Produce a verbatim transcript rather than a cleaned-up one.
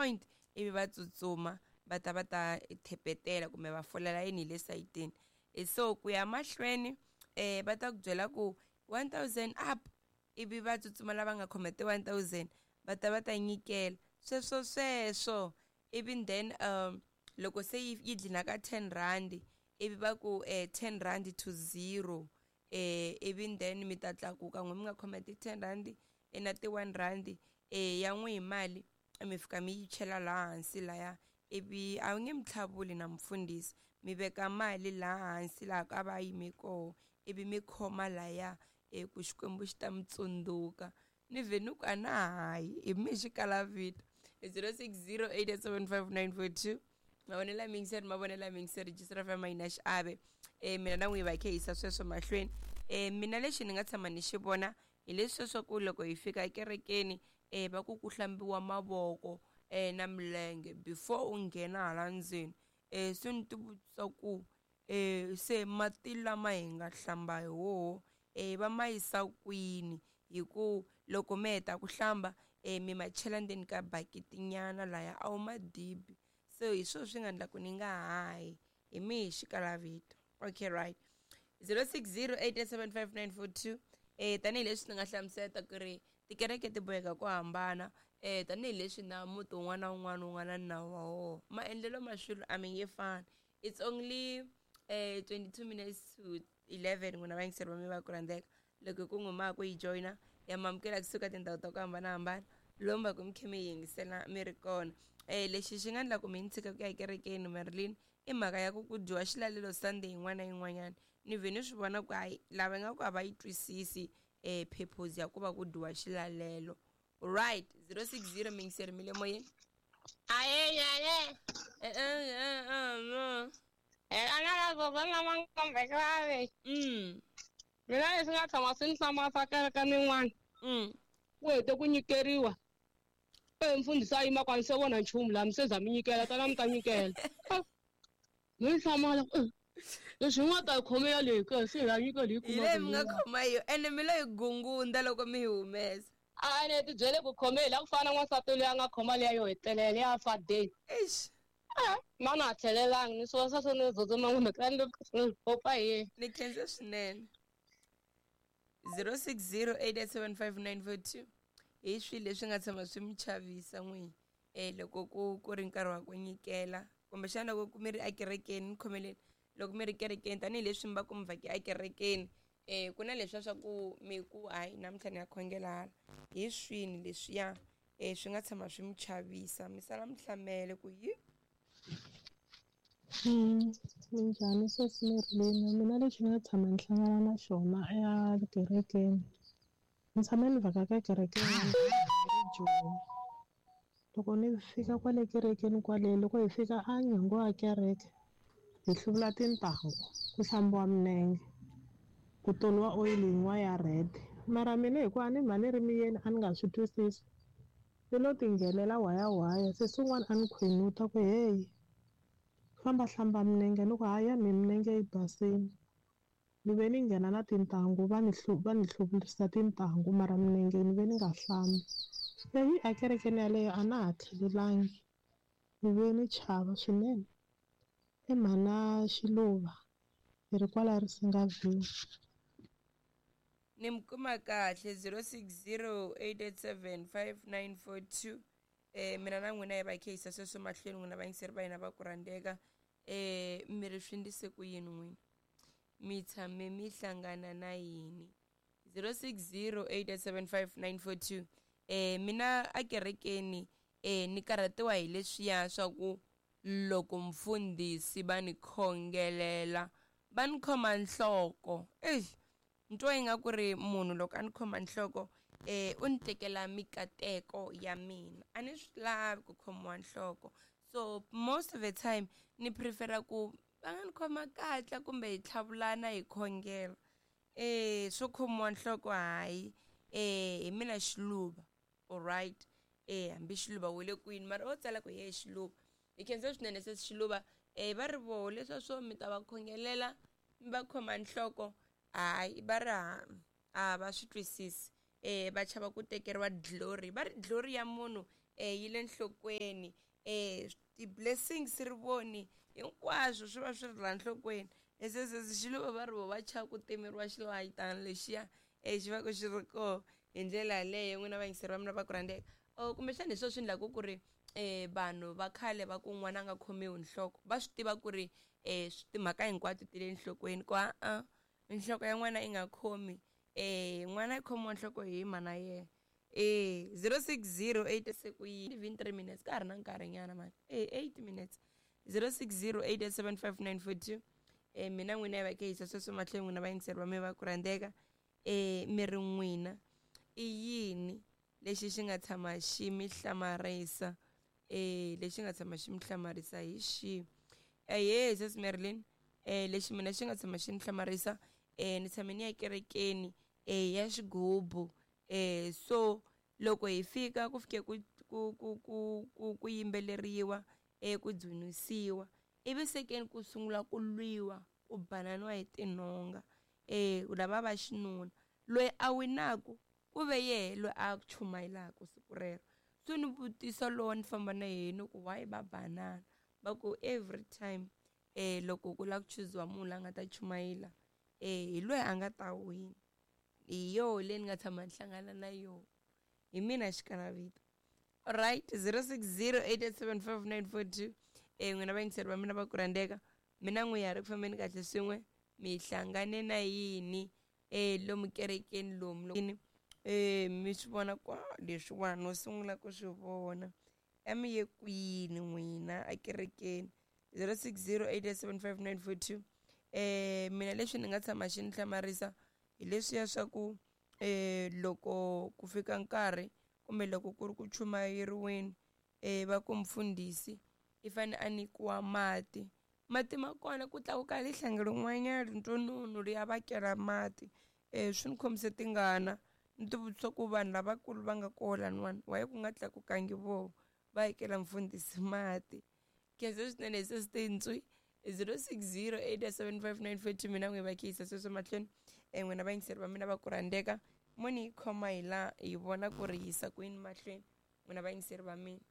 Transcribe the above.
point ivi va tsutsuma va ta va ta thepetela kumbe va fola layini hi le sayitini. So ku ya mahlweni eh va ta ku byela ku one thousand up ivi va tsutsuma lava nga khoma ti one thousand va ta va ta nyikela sweswo sweswo ivi then um loko se yi yi dlina ka ten rand ivi va ku eh ten rand to zero eh ivi then mi ta tlakuka n'we mi nga khoma ti ten rand na ti one rand eh ya n'we hi mali mi fika mi yi chela laha hansi laya ivi a wu nge mi tlhavuli na mfundhisi mi veka mali laha hansi laha ka va yime koho ivi mi khoma laya e ku Xikwembu xi ta mi tsundzuka ni vhe ni ku a na hayi hi mi xikalavito zero six zero eight seven five nine four two mavonelo ya mingiseri mavonelo ya mingiseri register F M yi na xiave eh mina na n'wi va khe yisa sweswo mahlweni eh mina lexi ni nga tshama ni xi vona hi leswi swa ku loko hi fika ekerekeni eh va ku ku hlambiwa mavoko eh na milenge before u nghena hala ndzeni eh se ni ti vutisa ku eh se mati lama hi nga hlamba hi woho eh va ma yisa kwini hi ku loko mi heta ku hlamba eh mi ma chela ndzeni ka bakiti nyana laya a wu ma dibi so hi swona swi nga endla ku ni nga hayi hi mi hi xikalavito. Okay, right, zero six zero eight seven five nine four two eh tanihileswi ni nga hlamusela ku ri tikereke ti boheka ku hambana eh tanihileswi na muti wun'wana na wun'wana wu nga na nawu wa wona maendlelo ma swilo a mi nge fani. It's only eh twenty-two minutes to eleven n'wina vayingiseri va mi va ku rhandzeka loko ku n'wi ma ku yi joyina ya mamukela kusuka tindhawu ta ku hambanahambana lomu va ku mi khe mi yingisela mi ri kona. Eh lexi xi nga endla ku mi ni tshika ku ya ekerekeni Marilyn i mhaka ya ku ku dyiwa xilalelo Sunday yin'wana na yin'wanyana ni vhe ni swi vona ku hayi lava nga ku a va yi twisisi eh purpose ya ku va ku dyiwa xilalelo. Right, zero six zero mingiseri mi le moyeni. Aye eh eh eh eh ana la gogo na mankombe grave. Mm. Mina leswi nga tshama swi ni hlamarisa kereke nin'wana. Mm. Ku hete ku nyikeriwa. E mfundhisi a yima kwani se vona nchumu laha mi se za mi nyikela tala mi ta nyikela. Ni hlamala leswi nga ta khome ya leyi ke se hi nyika leyi hi leyi mi nga khoma yo ene mi lo yi gungunda loko mi yi humesa. A ne ti byele ku khome la ku fana na n'wansati loyi a nga khoma liya yo hetelela ya fa day. Eish. Mana a tlhelelangi ni swo swa ni tsutsuma kumbe ka ni popa hi. Ni khensa swinene. zero six zero eight seven five nine four two hi swilo leswi nga tshama swi mi chavisa n'wini eh loko ku ku ri nkarhi wa ku nyikela kumbexana loko mi ri ekerekeni ni khomeleni loko mi ri kerekeni tanihileswi mi va ku mi vhake ekerekeni eh ku na leswiya swa ku mi ku hayi namuntlha ni ya khongela hala hi swini leswiya eh swi nga tshama swi mi chavisa mi sala mi hlamele ku yi. Mm, minjhani sweswi Marilyn mina lexi ni nga tshama ni hlangana na xona ekerekeni ni tshame ni vhaka ka kereke Joni loko ni fika kwale kerekeni kwale loko hi fika a nyangwa ya kereke hi hluvula tintangu ku hlambiwa minenge ku toliwa oyili yin'wana ya red mara mina hikuva ni mhani ri miyeni a ni nga swi twisisi ni lo tinghenela waya waya se swin'wana a ni khwenuta ku heyi famba hlamba minenge ni ku hayi ya mi minenge yi basini ni ve ni nghena na tintangu va ni va ni hluvulisa tintangu mara minenge ni ve ni nga hlambi leyi a kerekeni yaleyo a na ha tlhelelangi ni ve ni chava swinene i mhana Xiluva hi ri kwala Risinga View. Ni mi kuma kahle zero six zero eight eight seven five nine four two eh mina na n'wina hi va khe yisa sweswo mahlweni n'wina vayingiseri va hina va ku rhandzeka eh mi ri swi ndise ku yini n'wina mi tshame mi hlangana na yini zero six zero eight eight seven five nine four two eh mina ekerekeni eh ni karhatiwa hi leswiya swa ku loko mfundhisi va ni khongelela va ni khoma nhloko eish ntwa yi nga ku ri munhu loko a ni khoma nhloko eh u ni tekela mikateko ya mina a ni swi lavi ku khomiwa nhloko so most of the time ni prefera ku va nga ni khoma katla kumbe hi tlhavulana hi khongela eh swo khomiwa nhloko hayi eh hi mina Xiluva alright eh hambi Xiluva wu le kwini mara o tsala ku ye Xiluva hi khensa swinene se Xiluva eh va ri voho leswa swo mi ta va khongelela mi va khoma nhloko hayi va ri a va swi twisisi eh va chava ku tekeriwa glory va ri glory ya munhu um yi le nhlokweni um ti-blessings rivoni hinkwaswo swi va swi ri laha nhlokweni esesesi xi lo va va ri vo va chava ku timeriwa xilayitana lexiya um xi va ku xi ri koho hi ndlela yaleyo n'wina vayingiseri va mina va ku rhandzeka or kumbexana hi swona swi endlaku ku ri um vanhu va khale va ku n'wana a nga khomiwi nhloko va swi tiva ku ri um timhaka hinkwato ti le nhlokweni ku a-a nhloko ya n'wana yi nga khomi um n'wana yi khomiwa nhloko hi mana yena e zero six zero eight se ku yi even three minutes ka ha ri na nkarhinyana mani e eight minutes zero six zero eight eight seven five nine four two um mina n'wina yi va ke yisa sweswo mahlweni n'wina vayingiseri va mina va ku rhandzeka um mi ri n'wina i yini lexi xi nga tshama xi mi hlamarisa um lexi nga tshama xi mi hlamarisa hi xihi ehe sis Marilyn um lexi mina xi nga tshama xi ni hlamarisa um ni tshame ni ya kerekeni um ya xigubu um so loko hi fika ku fike ku ku ku ku ku ku yimbeleriwa um ku dzunisiwa ivi sekeni ku sungula ku lwiwa ku bananiwa hi tinhonga um lava va xinuna loyi a winaku ku ve yehe loyi a chumayelaka siku rero so ni vutisa lowo ni famba na yena ku why va banana va ku every time um loko ku lava ku chuziwa munhu la nga ta chumayela um hi loyi a nga ta wina hi yoho leyi ni nga tshama ni hlangana na yoho hi mina xikanavito alright zero six zero eight eight seven five nine four two um n'wina vayingiseri va mina va ku rhandzeka mina n'wi ya ri ku fambeni kahle swin'we mi hlangane na yini um lomu kerekeni lomu um mi swi vona ku leswiwani no sungula ku swi vona a mi ye kwini n'wina ekerekeni zero six zero eight eight seven five nine four two um mina leswi ni nga tshama xi ni hlamarisa hi leswiya swa ku um loko ku fika nkarhi kumbe loko ku ri ku chumayeriweni um va ku mfundhisi i fane a nyikiwa mati mati ma kona ku tlakuka lihlanga rin'wanyana rintsonunu ri ya va kela mati um swi ni khomise tingana ni ti vutisa ku vanhu lavakulu va nga koho laniwani why ku nga tlakukangi voho va yikela mfundhisi mati khensa swinene hi sesitentswi zero six zero eight seven five nine four two mina n'wi va khiyisa sweswo mahlweni um n'wina vayingiseri va mina va ku rhandzeka mo ni yi khoma hi laha hi vona ku ri yisa kwini mahlweni n'wina vayingiseri va mina.